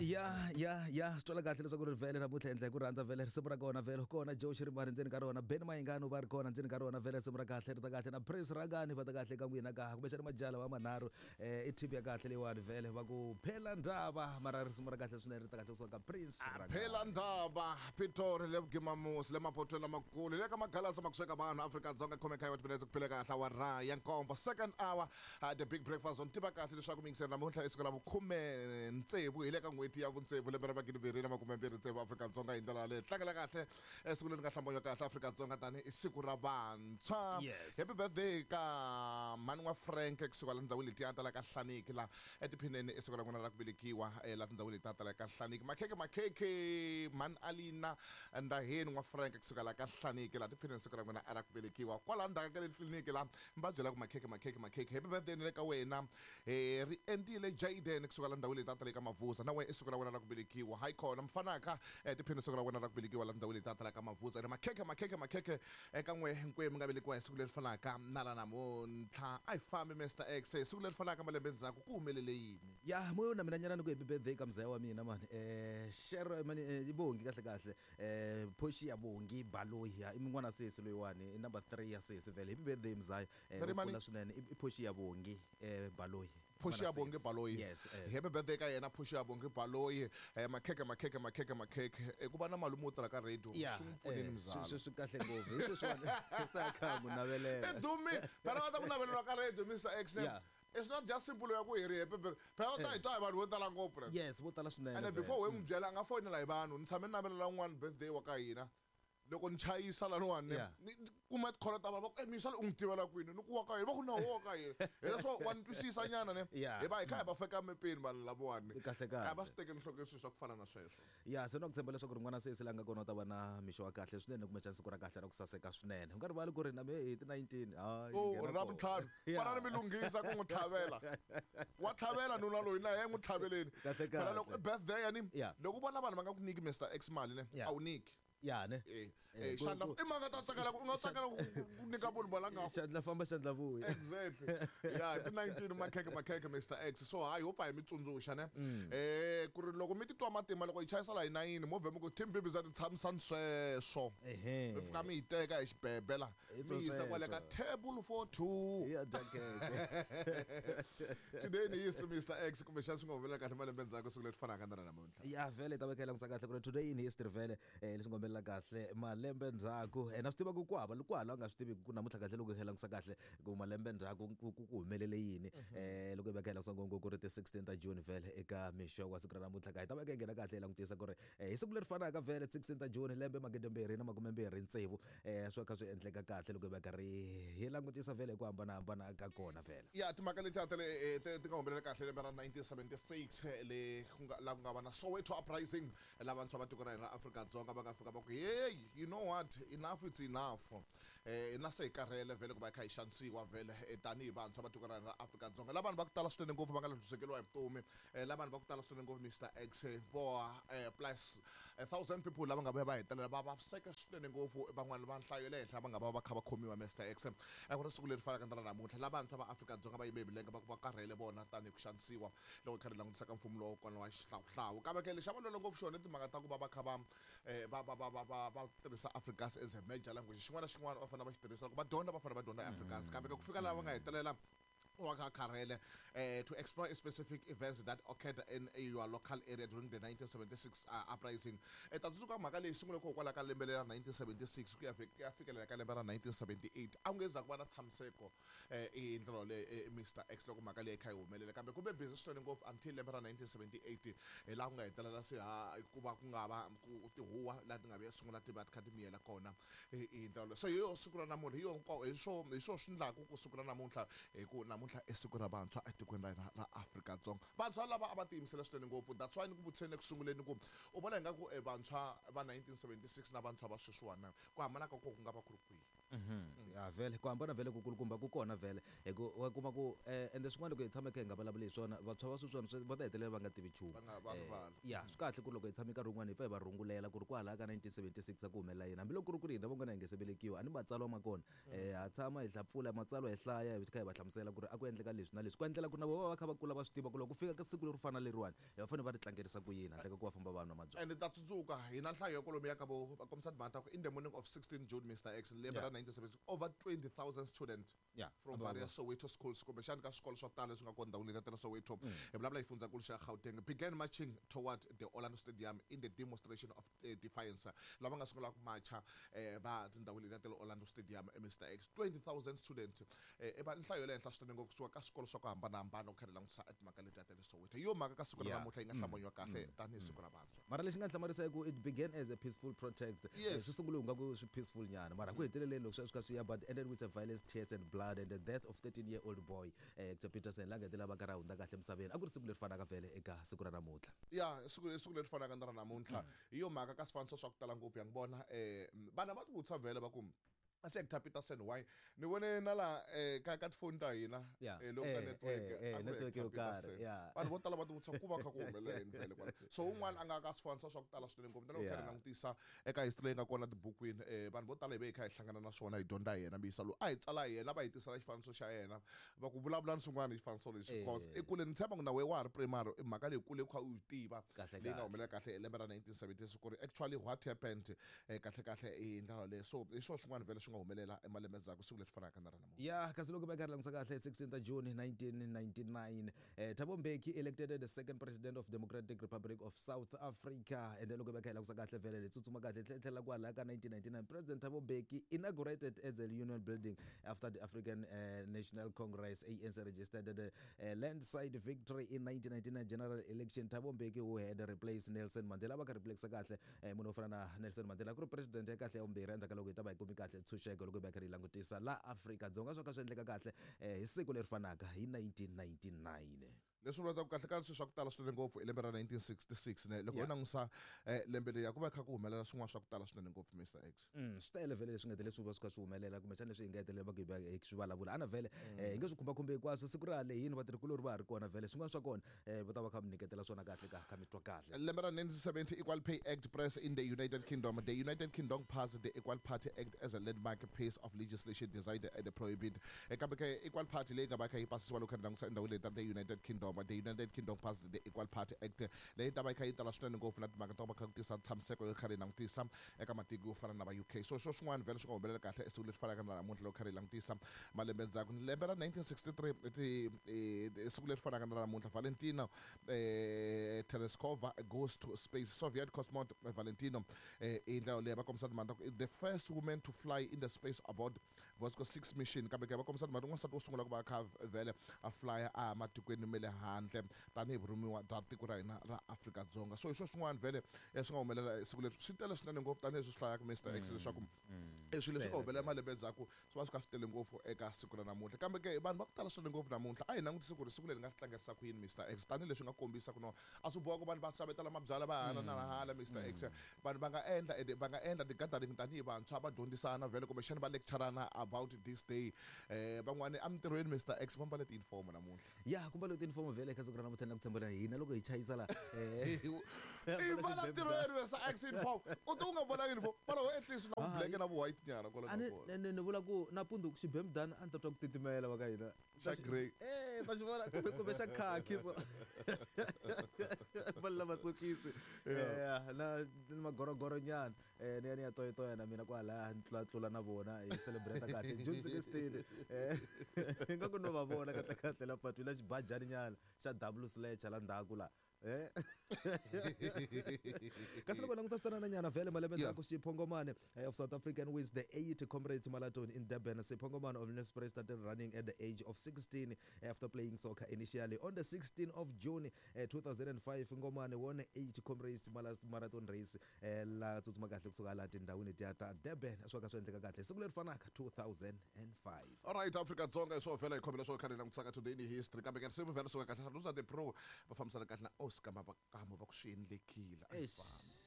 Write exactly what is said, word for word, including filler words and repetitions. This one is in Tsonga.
Ya ya ya swi twala kahle leswaku ri vhele namuntlha endla hi ku rhandza vhele risimu ra kona vhele kona Joe Shirimani ndzeni ka rona Ben Mayengani va ri kona ndzeni ka rona vhele risimu ra kahle ri ta kahle na Prince Rangani va ta kahle ka n'wina ka kumbexana majala wa manharhu eh i tip ya kahle leyiwani vhele va ku phela ndaba mara risimu ra kahle swinene ri ta kahle kusuka ka Prince Rangani. Phela ndaba Pitori le Vugimamusi le mapotweni lamakulu le ka magalasa makusweka vanhu Afrika-Dzonga khome khayo timinetse ku phile kahle awara ya nkombo second hour uh, the big breakfast on tiva kahle leswaku mingiseri namuntlha i siku ra vukhume tsevu hi le ka n'hweti ya vutsevu lembe ra magidi mbirhi na makume mbirhi tsevu Afrika-Dzonga hi ndlela yaleyo tlangela kahle eh, siku leri nga hlambanya kahle Afrika-Dzonga tani i siku ra vantshwa. Yes. Happy birthday ka mhani wa Frank kusuka la tindhawini letiya ta la ka Hlaniki la etiphineni i siku ra n'wina ra ku velekiwa eh, la tindhawini letiya ta la ka Hlaniki makhekhe makhekhe mhani Alina Ndaheni n'wa Frank kusuka la ka Hlaniki la tiphineni siku ra n'wina ra ku velekiwa kwala ndzhaku ka le tliliniki la mi va byela ku makhekhe makhekhe makhekhe happy birthday ni le ka wena eh, ri endlile Jaden kusuka la ndhawini letiya ta le ka Mavuza na wena i siku ra wena ra ku velekiwa hayi khona mfanaka eh, tiphini siku ra wena ra ku velekiwa la ndhawini letiya ta la ka Mavuza ri makhekhe makhekhe makhekhe eka n'we hinkwenu mi nga velekiwa hi siku leri fanaka na ra namuntlha a hi fambi Mister X hi siku leri fanaka malembe ndzhaku ku humelele yini ya moyo na mina nyana ni ku happy birthday ka mzaya wa mina mani eh shero mani eh, i Bongi kahle kahle eh Portia Bongi Baloyi ya i min'wana sesi loyiwani i number three ya sesi vhele happy birthday mzaya eh Ri mani? kula swinene i i Portia Bongi eh Baloyi Portia N'wana Bongi sesi. Baloyi yes eh. Happy birthday ka yena Portia Bongi Baloyi eh, makhekhe makhekhe makhekhe makhekhe eh, ku va na malume wo tirha ka radio ya swi n'wi pfunile eh, mzala swi swi kahle ngopfu hi sweswiwani se a kha n'wi navelela i dumi phela va ta ku naveleriwa ka radio Mister X ne? Yeah. It's not just simple ya ku hi ri happy birthday phela u ta hi twa hi vanhu vo tala ngopfu ne? Yes vo tala swinene ene vhele. before we n'wi byela a nga foyinela hi vanhu ni tshame ni navelela un'wana birthday wa ka hina loko ni chayisa laniwani Yeah. ni ni kuma tikholo ta vanhu va ku misa u n'wi tivela kwini ni ku wa ka hina va ku na wo ka hina hileswo wa ni twisisa nyana ne Yeah. hi va hi kha hi va feka mepeni vanhu lavawani Kahle kahle. a va swi tekeli nhlokweni swilo swa ku fana na sweswo ya se na ku tshemba leswaku ri n'wana sesi la nga kona u ta va na mixo wa kahle swinene kumbexana siku ra kahle ra ku saseka swinene u nga rivali ku ri na me hi ti nineteen hayi o nghena ra kona. vuntlhanu Yeah. fana ni mi lunghisa ku n'wi tlhavela wa tlhavela nuna loyi na ye n'wi tlhaveleni Kahle phela kahle. loko i birthday yani Yeah. loko u vona vanhu va nga ku nyiki Mister X mali ne Yeah. a wu nyiki ya ne Eh, Eh, eh, ku- xandla ku- i mhaka ta tsakela ku u nga tsakela ku ku nyika munhu valanga xandla famba xandla vuya exactly ya ti nineteen makhekhe makhekhe Mister X so hayi ho pfa hi mi tsundzuxa ne eh ku ri loko mi titwa matima loko hi chayisa la hi nayini movhe mi ku team bibi za ti tshamisani sweswo ehe mi fika mi yi teka hi xibebe la Hi mi yisa kwale ka sweswo. table for two ya dya khekhe today ni history Mister X kumbexana swi nga humelela kahle malembe ndzhaku siku leri fanaka na ra namuntlha ya vhele hi ta veka hi langutisa kahle ku ri today in history vhele eh, leswi nga humelela kahle malembe ndzhaku eh, na swi tiva ku ku hava ku hala u nga swi tivi ku namuntlha kahle loko hi langutisa kahle ku malembe ndzhaku ku ku- ku humelele yini eh, loko hi veka hi langutisa ngopfu ku ri ti sixteen ta June vhele eka mixo wa siku ra namuntlha ka hi ta veka hi nghena kahle hi langutisa ku ri eh, hi siku leri fanaka vhele sixteen ta June lembe magidi mbirhi na makume mbirhi tsevu eh, swi kha swi endleka kahle loko hi veka ri hi langutisa vhele hi ku hambanahambana ka kona vhele ya timhaka letiya ta le eh, ti ti nga humelela kahle lembe ra nineteen seventy-six eh, le ku nga la ku nga va na Soweto uprising eh, la vantshwa va tiko ra hina ra Afrika-Dzonga va nga fika va ku hey you know what enough it's enough eh na se hi karhele vhele ku va hi kha hi xanisiwa vhele eh, tanihi vantshwa va tiko ra hina ra Afrika-Dzonga la vanhu va ku tala swinene ngopfu va nga lahlekeriwa hi vutomi eh, la vanhu va ku tala swinene ngopfu Mister X eh, vo eh, plus a thousand people lava nga vuya va hetelela va vaviseka swinene ngopfu van'wana va nhlayo ya le henhla va nga va va kha va khomiwa Mister X a ku ri siku leri fanaka na ra namuntlha la vantshwa va Afrika-Dzonga va yime hi milenge va ku va karhele vona tanihi ku xanisiwa loko hi kha ri langutisa ka mfumo lowu kona wa xihlawuhlawu kambe ke lexi a va lwela ngopfu xona i timhaka ta ku va va kha va eh, va va va va va va tirhisa Afrikaans as a major language xin'wana na xin'wana va fanele va xi tirhisa loko va dyondza va fanele va dyondza Afrikaans kambe ke ku fika laha va nga hetelela wa kha karhele eh, to explore specific events that occurred in your local area during the nineteen seventy-six uh, uprising eh, ta tsundzuka mhaka leyi sungule kokwalaho ka lembe lera nineteen seventy-six ku ya fi- ku ya fikelela ka lembe ra nineteen seventy-eight a ku nge za ku va na tshamiseko eh, hi ndlela yoleyo eh, Mister X loko mhaka leyi kha yi humelela kambe ku ve busy swinene ngopfu until lembe ra nineteen seventy-eight hi laha ku nga hetelela se ha ku va ku nga va ku tihuwa laha ti nga vuya sungula ti va ti kha ti miyela kona hi hi ndlela yoleyo so hi yo siku ra namuntlha hi yo nko- hi swo hi swo swi ndlaku ku siku ra namuntlha hi ku namuntlha i siku ra vantshwa etikweni ra hina ra Afrika-Dzonga vantshwa lava a va tiyimisela swinene ngopfu that's why ni ku vutiseni eku sunguleni ku u vona ingaku eh, vantshwa va nineteen seventy-six na vantshwa va sweswiwani ku hambana ka kona ku nga va ku ri kwihi Mhm. Ya vhele ku hambana vhele ku kulukumba ku kona vhele hi ku wa kuma ku eh, ende swin'wana loko hi tshama kha hi nga vulavuli hi swona vantshwa va sweswiwani swi- va ta hetelela va nga tivi nchumu. Va nga va Eh, rivala. Ya swi kahle ku ri loko hi tshame nkarhi wun'wani hi pfa hi va rungulela ku ri kwalaya ka nineteen seventy six a ku humelela yini, hambiloko ku ri ku ri hina van'wana hi nge se velekiwa a ni matsalwa ma kona. um ha tshama hi hlapfula matsalwa hi hlaya hi kha hi va hlamusela ku ri a ku endleka leswi na leswi, ku endlela ku na vona va va kha va kula va swi tiva ku loko ku fika ka siku leri fana leriwani hi va fanele va ri tlangerisa ku yini handle ka ku va famba va nwa mabyalwa. And ta tsundzuka hi na nhlayo ya kwalomuya ka vo va kombisa timhaka ta ku in the morning of sixteen June, Mister X, lembe Yeah. ra nineteen seventy six, over twenty thousand students Yeah. from various Soweto schools, kumbexani ka swikolo swa ku tala leswi nga kona ndhawini leti ta le Soweto, hi vulavula hi xifundzankulu xa Gauteng, began marching toward the Orlando Stadium in the demonstration of uh, defiance. Lava nga sungula ku macha eh, va tindhawu leti ta le Orlando Stadium, eh, Mister X, twenty thousand students, eh, i va nhlayo ya le henhla swinene ngopfu kusuka ka swikolo swa ku hambanahambana ku kha ri langutisa timhaka letiya ta le Soweto. Hi yo mhaka ka siku ra Yeah. namuntlha yi nga hlamunyiwa kahle tanihi siku ra vantshwa. Mara lexi nga hlamarisa i ku it began as a peaceful protest. Yes. Eh, swi sungule ku nga ku swi peaceful nyana, mara ku heteleleni loko swi swi kha swi ya, but ended with a violence, tears and blood and the death of thirteen year old boy, eh, Hector Peterson, la nga hetelela va karhi a hundza kahle emisaveni. A ku ri siku leri fanaka vhele eka siku ra namuntlha. Ya siku siku leri fanaka na ra namuntlha, hi yo mhaka ka swifaniso swa ku tala ngopfu ya n'wi vona um vana va ti vutisa vhele va ku a se Hector Peterson why ni vone na la eh, ka ka tifoni ta hina Yeah. eh, loko ka Eh, network eh, eh, a ku ri network Hector yo karhi, Peterson. yeah. Vanhu vo tala va ti vutisa ku va kha ku humelela yini vhele kwala, so un'wana a nga ka swifaniso swa ku tala swinene ngopfu na loko kha Yeah. ri langutisa eka history leyi nga kona tibukwini, eh, vanhu vo tala hi ve hi kha hi hlangana na swona hi dyondza hi yena mbisa lowu a hi tsala hi yena va hi tisela xifaniso xa yena va ku vulavula ni swin'wana hi xifaniso lexi, Eh. because i kule ni tshemba ku na wehe wa ha ri primary i mhaka leyi kule u kha u yi tiva Kahle leyi nga kahle. humelela kahle hi lembe ra nineteen seventy six, ku ri actually what happened eh, kahle kahle hi ndlela leyo. So hi swona swin'wana vhele swi nga humelela emalembe ndzhaku siku leri fanaka na ra namuntlha. Ya kasi loko va karhi langutisa kahle sixteenth June nineteen ninety-nine, eh, Thabo Mbeki elected the second president of Democratic Republic of South Africa. And then loko va kha hi langutisa kahle vhele le tsutsuma kahle tlhe- tlhela kwalaya ka nineteen ninety-nine, President Thabo Mbeki inaugurated as a union building after the African uh, National Congress A N C registered the uh, landslide victory in nineteen ninety-nine general election. Thabo Mbeki, who had replaced Nelson Mandela, va kha replace kahle eh, munhu wo fana na Nelson Mandela ku ri president ya kahle ya vumbirhi endzhaku ka loko hi ta va hi kumi kahle ntshunxeko loko hi va kha ri langutisa la Afrika-Dzonga swo ka swi endleka kahle eh, hi siku leri fanaka hi nineteen ninety-nine. Leswi vulaka ku kahle ka swilo swa ku tala swinene ngopfu i lembe ra nineteen sixty-six ne loko Yeah. ho langusa eh, lembe leri ku va kha ku humelela swin'wana swa ku tala swinene ngopfu, Mister X. Mm, swi tele vhele leswi nga hetelela swi va swi kha swi humelela kumbexana leswi hi nga hetelela va ku hi va hi swi vulavula ana vhele eh, hi nge swi khumbakhumbi hinkwaswo siku ra lehini vatirhikulori va ha ri kona vhele swin'wana swa kona eh, va ta va kha mi nyiketela swona kahle ka kha mi twa kahle. Lembe ra nineteen seventy, Equal Pay Act press in the United Kingdom. The United Kingdom passed the Equal Party Act as a landmark piece of legislation designed at the prohibit. Eh, kambe ke Equal Party leyi nga va kha yi pasisiwa loko kha ri langutisa endhawini leyi ta the United Kingdom. The United Kingdom passed the Equal Party Act leyi ta va yi kha yi tala swinene ngopfu na timhaka ta ku va kha ku tisa ntshamiseko yo kha ri langutisa eka matiko yo fana na va U K. So swo swin'wana vhele swi nga humelela kahle esiku leri fanaka na namuntlha loko kha ri langutisa malembe ndzhaku. Lembe ra nineteen sixty-three, ti, eh, siku leri fanaka na namuntlha, Valentina, eh, Tereshkova goes to space. Soviet cosmonaut Valentino, eh, hi ndlela leyi va kombisa timhaka ta ku the first woman to fly in the space aboard Voskhod six mission. Kambe ke va kombisa timhaka n'wansati wo sungula ku va kha vhele a flya a matikweni ma le handle tanihi vurhumiwa bya tiko ra hina ra Afrika-Dzonga. So hi swo swin'wana vhele eh, swi nga humelela siku leri swi tele swinene ngopfu tanihileswi swi hlayaka Mister X leswaku eh, swilo leswi nga humelela malembe ndzhaku swi va swi kha swi tele ngopfu eka siku ra namuntlha. Kambe ke vanhu va ku tala swinene ngopfu namuntlha a hi langutisi ku ri siku leri nga tlangerisa ku yini Mister X, tanihileswi nga kombisa ku no a swi boha ku vanhu va xavetela mabyalwa va hala na hala Mister X. Vanhu va nga endla ende va nga endla ti-gathering tanihi vantshwa va dyondzisana vhele kumbexana va lecturana about this day. Eh, van'wani emintirhweni Mister X va mbale ti-uniform namuntlha. Ya ku mbale ti-uniform vhele eka siku ra namuntlha na ku tshembela hina loko hi chayisa la, eh, I mbala ntirhweni Mister X uniform u ti u nga vonangi uniform mara at least na Hayi. black na vu white nyana kwala A ni ka kona. ni- ni vula ku nampundzu xibemudana a ni ta twa ku titimela va ka hina. Xa grey. Eh, ta xi vona kumbe kumbe xa khaki so. Mbala masokisi. Eh, na na magorogoro nyana. Eh, ni ya ni ya toyitoya na mina kwalaya ni tlula tlula na vona hi celebrate kahle June sixteen. Eh, nga ku no va vona kahle kahle la patwini la xibajani nyana xa double sledge la ndzhaku la. Eh. Kasi loko languta swanana nyana vhele malembe Yeah. ndzhaku Sipho Ngomane eh, of South African wins the eight Comrades Marathon in Durban. Sipho Ngomane of Nelspruit started running at the age of sixteen after playing soccer initially. On the sixteenth of June eh, two thousand and five, Ngomane won eight Comrades Marathon race eh, la tsutsuma kahle kusuka laha tindhawini tiya ta Durban. Swi ka swi endleka kahle siku leri fanaka two thousand and five. All right, Afrika Dzonga hi swo vhela hi khomela swo khale langutisaka today in history. Kambe ke risimu vhela suka kahle Rosa the Pro va fambisana kahle na Oscar Mabakamo va ku swi endlekile. A hi Eish. fambi.